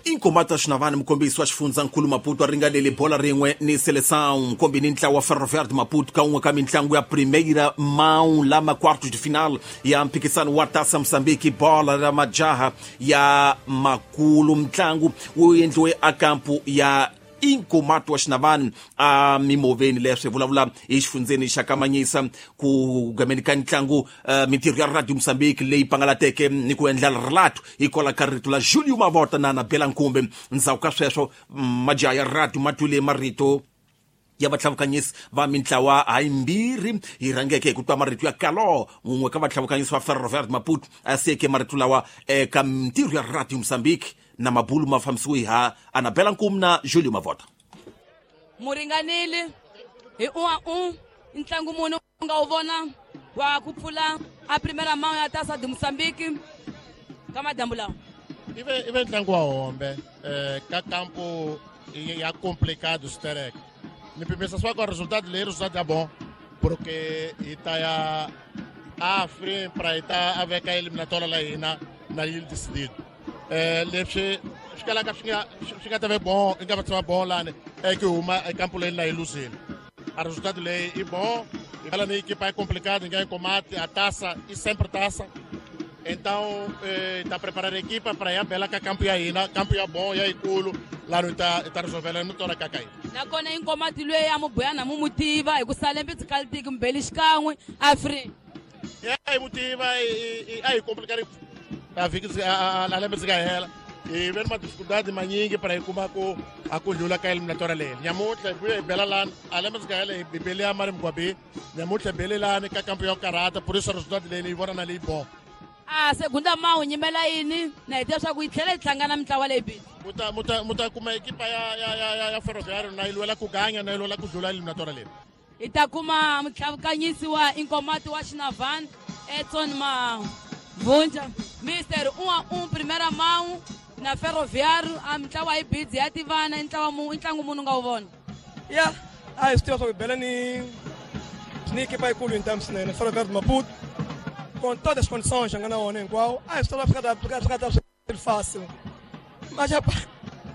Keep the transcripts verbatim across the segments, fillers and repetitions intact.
Inkomati wa Xinavane mukombisi wa xifundzankulu Maputo a ringanele bola rin'we ni Seleção nkombi ni ntlawa wa Ferroviário de Maputo ka un'we ka mitlangu ya Primeira Mão lama quartos de final ya mphikisano wa Taça Moçambique bola ra majaha ya makulu. Mtlangu wu endliwe a kampu ya Inkomati wa Xinavane a mimoveni leswi vulavula hi xifundzeni xa Kamanyisa ku gameni ka ntlangu uh, mintirho ya Radio Moçambique leyi pangalateke ni ku endla relato hikwalaho ka rito la Julio Mavota na Anabela Nkumbe. Ndzhaku ka sweswo majaha ya radio ma twile marito ya vatlhavukanyisi va mintlawa hayimbirhi hi rhangeke hi ku twa marito ya Kalo un'we ka vatlhavukanyisi va Ferroviário de Maputo a siyeke marito lawa eka mintirho ya Radio Moçambique na mabulu ma fambisiwe ha Anabela Nkume na Julio Mavota. Muringanile hi un'wa un ntlangu munhu u nga wu vona wa ku pfula a primeira mão ya Taça de Moçambique ka madyambu lawa. Ive ive ntlangu wa hombe eh, ka campo ya complicado sterek. Ni pimisa swa ku resultado leyi resultado ya bom porque hi ta ya a free pra hi ta a veka eliminatória la hina na yi decidido. Eh, leswi swi kalaka swi nga swi nga ta ve bon i nga va tshama bon lani e ku huma ekampo leyi na yi luzile. A resultado leyi i bom ela ni equipa é complicada, ninguém combate a taça e sempre taça. Então está eh, preparando a equipa para ir a bela que campo aí na campo é bom e aí culo lá não está está resolvendo não tola cakai. Nakona Inkomati lwe ya mubuyana mu mutiva hi ku sale mbitsi kaltiki mbeli xikan'we afri. Ya hi mutiva i ai complicado a viki a a lembe tsika hela. E vem uma dificuldade manyingi para kuma ku a ku dlula ka eliminatória leyi. Nyamutlha hi bela lani a lembe tsika hela hi bele ya mari mgwabi. Nyamutlha bele lani ka campo ya karata por isso resultado leyi vona na leyi bom. A segunda mão nyimela yini na hi tiva swa ku yi tlhela yi hlangana mintlawa leyi bili. Muta muta muta kuma equipa ya ya ya ya Ferroviário na yi lwela ku ganya na yi lwela ku dlula eliminatória leyi. Hi ta kuma mutlhavukanyisi wa Inkomati wa Xinavane Edson Mavunja Mister um a um primeira mão na Ferroviário a mintlawa yi bidzi ya tivana ntlawa mu ntlangu munhu nga wu vona. Ya a hi swi tiva swa ku bela ni ni equipa yikulu hi ntamu swinene Ferroviário de Maputo com todas as condições nga na wona hinkwawo a hi swi tiva swi nga ta swi fácil. Mas rapaz,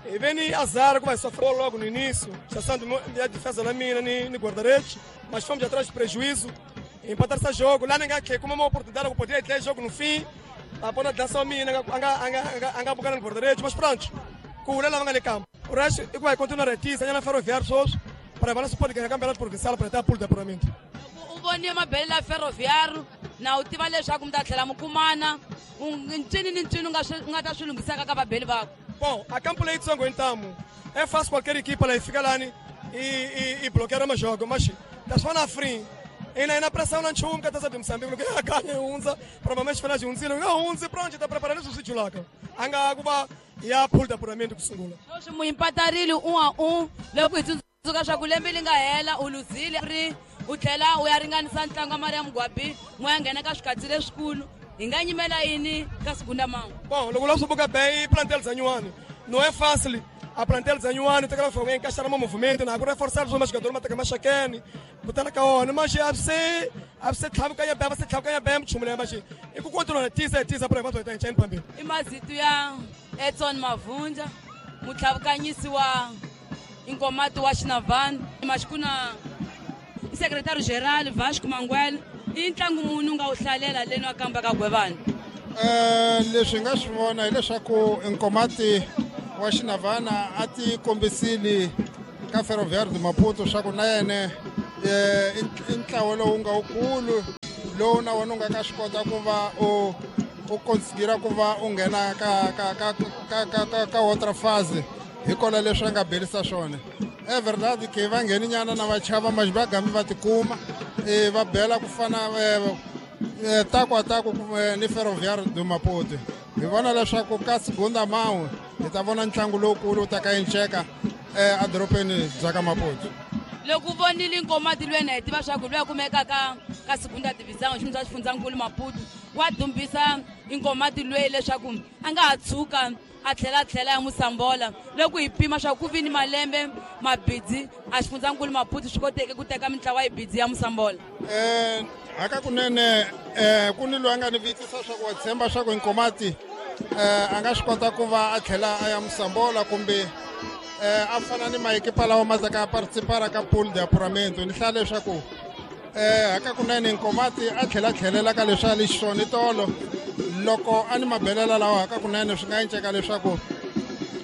e vem azar que vai sofrer logo no início, chassando a defesa na mina ni, ni guarda-redes, mas fomos atrás de prejuízo, empatar esse jogo. Lá ninguém que como uma oportunidade que poderia ter jogo no fim, a ponta dança mina, anga anga anga bucar no guarda-redes, mas pronto, com o Lela vanga no campo. O resto vai continuar aqui, sanha na Ferroviário só para balanço pode ganhar campeonato provincial para ter pulo de apuramento. O vonia mabele la Ferroviário na u tiva leswaku mi ta tlhela mi kumana ncini ni ncini u nga swi nga ta swi lunghisaka ka vabeli vako. Bom, a campo leitsongo então é fácil qualquer equipa lá fica lá e e e bloquear o jogo, mas tá só na frente. E na, na pressão não tinha um que tá de Moçambique, que ganha onze, provavelmente final de onze, não onze, pronto, tá preparando o sítio lá. Anga kuba ya pulo de apuramento kusungula. Hoje mu empatarile um a um, loko hi tsundzuka swa ku lembe li nga hela u luzile ri u tlhela u ya ringanisa ntlangu wa Maria Mugwabi n'we ya nghena ka swikatsi leswikulu hi nga nyimela yini ka segunda mão. Bom, loko la swi buka bem plantel zanywani. Não é fácil a plantel zanywani tem que encaixar no movimento, na agora reforçar os jogadores, mas tem que machakeni, botar na caona, mas a você, a você tlhabu ka ya bem, você tlhabu ka ya bem, chumule mas e ku continua tisa tisa para enquanto tá enchendo pambi. I mazito ya Edson Mavunja, mutlhavukanyisi wa Inkomati wa Xinavane, mas kuna secretário geral Vasco Manguel, i ntlangu munhu nga wu hlalela leni wa kamba ka Gwevana. Eh leswi nga swi vona hileswaku Inkomati wa Xinavana a ti kombisile ka Ferroviário de Maputo swa ku na yena i ntlawa lowu nga wukulu lowu na wona u nga ka swi kota ku va u u konsigira ku va u nghena ka ka ka ka ka ka ka outra fase hikola leswi a nga belisa swona. É verdade que va ngheni nyana na vachava mas va gambi va tikuma e va bela ku fana taku a taku ni Ferroviário de Maputo. Hi vona leswaku ka segunda mão hi ta vona ntlangu lowukulu wu ta ka enceka edorobeni bya ka Maputo. Loko u vonile Inkomati lwena hi tiva swa ku lwa kumeka ka ka segunda divisão xi xa xifundzankulu Maputo wa dumbisa Inkomati lweyi leswaku a nga ha tshuka a tlhela tlhela ya Musambola. Loko hi pima swa ku vi ni malembe mabidzi a xifundzankulu Maputo swi koteke ku teka mintlawa yi bidzi ya Musambola. Eh haka kunene eh ku ni loyi a nga ni vitisa swa ku wa tshemba swa ku Inkomati eh, a nga swi kota ku va a tlhela a ya Mosambola kumbe eh, a fana ni maekipa lawa ma taka participara ka pool de apuramento. Ni hlaya leswaku eh, hakakunene Nkomati a tlhela tlhelela ka leswi a li xiswona tolo loko a ni mabelela lawa hakakunene swi nga enceka leswaku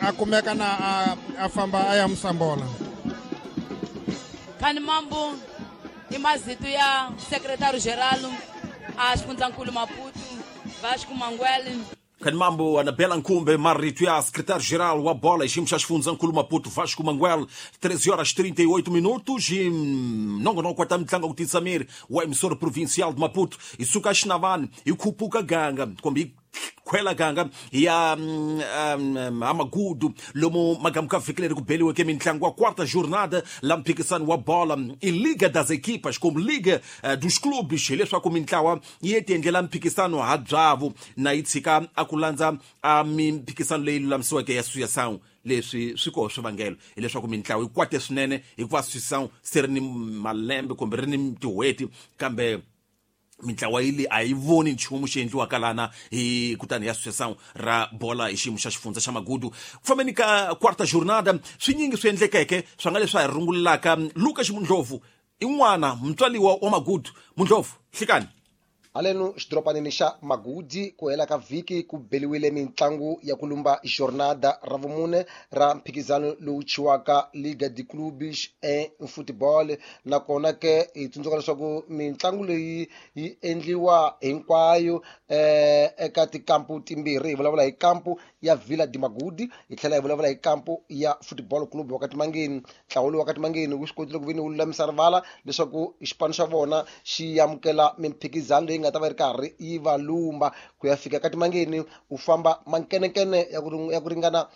a kumeka na a, a famba a ya Mosambola. Khani Mambo i mazito ya secretary geral a xifundzankulu Maputo Vasco Manguele. Khani Mambo Anabela Nkumbe marito ya secretário geral wa bola xiyimo xa xifundzankulu Maputo Vasco Manguel. Treze horas trinta e oito minutos e nongonoko wa ta mitlangu ku tisa miri wa emissora provincial de Maputo i suka Xinavani i khupuka ganga kumbe i khwela ganga ya um, um, amagudu lomu magamu ka vhiki leri ku beliweke mitlangu wa quarta jornada la mphikisano wa bola i Liga das Equipas kumbe Liga uh, dos Clubes, hileswaku mintlawa yi ti endlela mphikisano ha byavu na yi tshika a ku landza a mimphikisano leyi lulamisiweke ya Associação. Leswi swi koho swivangelo hileswaku mintlawa yi kwate swinene hikuva Associação se ri ni malembe kumbe ri ni tin'hweti kambe mintlawa yi le a yi voni nchumu xi endliwaka lana hi kutani ya Associação ra bola hi xiyimo xa xifundza xa Magudu. Ku fambeni ka quarta jornada swinyingi swi endlekeke swa nga leswi a hi rungulelaka Lucas Mundlovu i n'wana mutswaliwa wa Magudu. Mundlovu, hlikani. Haleno xidoropanini xa Magudi ku hela ka vhiki ku beliwile mitlangu ya ku lumba jornada ra vumune ra mphikizano lowu chiwaka Liga de Clubes em Futebol. Nakona ke hi tsundzuka leswaku mitlangu leyi yi endliwa hinkwayo eh, eka tikampu timbirhi. Hi vulavula hi kampu ya Vila de Magudi hi tlhela hi vulavula hi kampu ya Football Club wa Katimangeni. Ntlawa lowu wa Katimangeni wu swi kotile ku veni wu lulamisa rivala leswaku xipano xa vona xi amukela mimphikizano leyi nga ta va yi ri karhi yi va lumba. Ku ya fika Katimangeni u famba mankenenkene ya ku ya ku ringana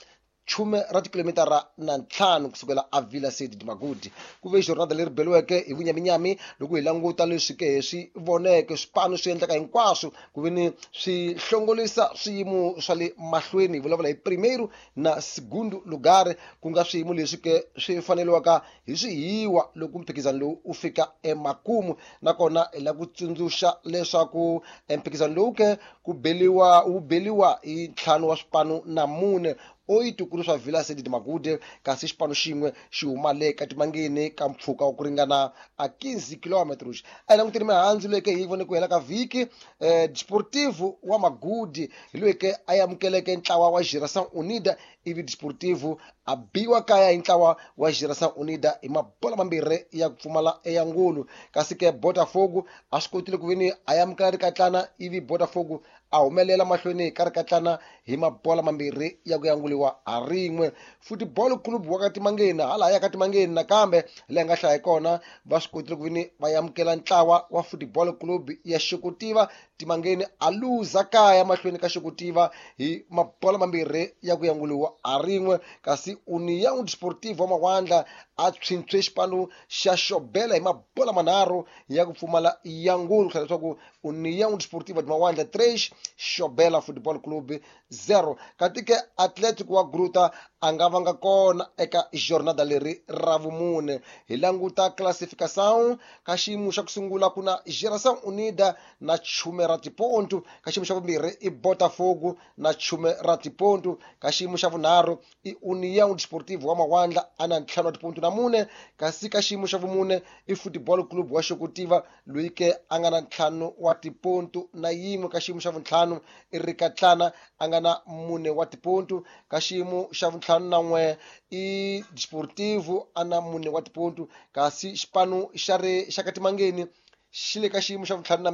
chume ra tikilomitara na ntlhanu kusukela a Vila Sede de Magudi. Ku ve jornada leri beliweke hi vunyaminyami loko hi languta leswi ke swi voneke swipano swi endleka hinkwaswo ku ve ni swi hlongolisa swiyimo swa le mahlweni. Hi vulavula hi primeiro na segundo lugar, ku nga swiyimo leswi ke swi faneliwaka hi swihiwa loko mphikizano lowu u fika emakumu. Nakona hi lava ku tsundzuxa leswaku mphikizano lowu ke ku beliwa wu beliwa hi ntlhanu wa swipano na mune oito ku ri swa Vila Sede de Magude, kasi xipano xin'we xi huma le Katimangeni ka mpfhuka wa ku ringana a quinze kilometros. A hi languteni mihandzu leyi ke hi vone ku hela ka vhiki. eh, Desportivo wa Magudi hi loyi ke a amukeleke ntlawa wa Geração Unida, ivi Desportivo a biwa kaya hi ntlawa wa Geração Unida hi mabola mambirhi ya ku pfumala eyangulu. Kasi ke Botafogo a swi kotile ku veni a amukela rikatlana, ivi Botafogo a humelela mahlweni ka rikatlana hi mabola mambirhi ya ku yanguliwa ha rin'we. Football Club wa Katimangeni hala ya Katimangeni nakambe leyi nga hlaya kona va swi kotile ku veni va amukela ntlawa wa Football Club ya Xikutiva. Timangeni a luza kaya mahlweni ka Xikutiva hi mabola mambirhi ya ku yanguliwa ha rin'we. Kasi União Desportiva wa Mawandla a tshwintshwe xipano xa Xobela hi mabola manharhu ya ku pfumala yangulu, ku hlaya leswaku União Desportiva de Mawandla três, Xobela Football Club zero. Kati ke Atlético wa Gruta a nga vanga kona eka jornada leri ra vumune. Hi languta classificação ka xiyimo xa ku sungula ku na Geração Unida na chume ra tipontu, ka xiyimo xa vumbirhi i Botafogo na chume ra tipontu, ka xiyimo xa vunharhu i União Desportivo wa Mawandla a na ntlhanu wa tipontu na mune, kasi ka xiyimo xa vumune i Football Club wa Xokutiva loyi ke a nga na ntlhanu wa tipontu na yin'we, ka xiyimo xa vuntlhanu i Rikatlana a nga na mune wa tipontu, ka xiyimo xa vuntlhanu na n'we i Desportivo a na mune wa tipontu, kasi xipano xa ri xa Katimangeni xi le ka xiyimo xa vuntlhanu na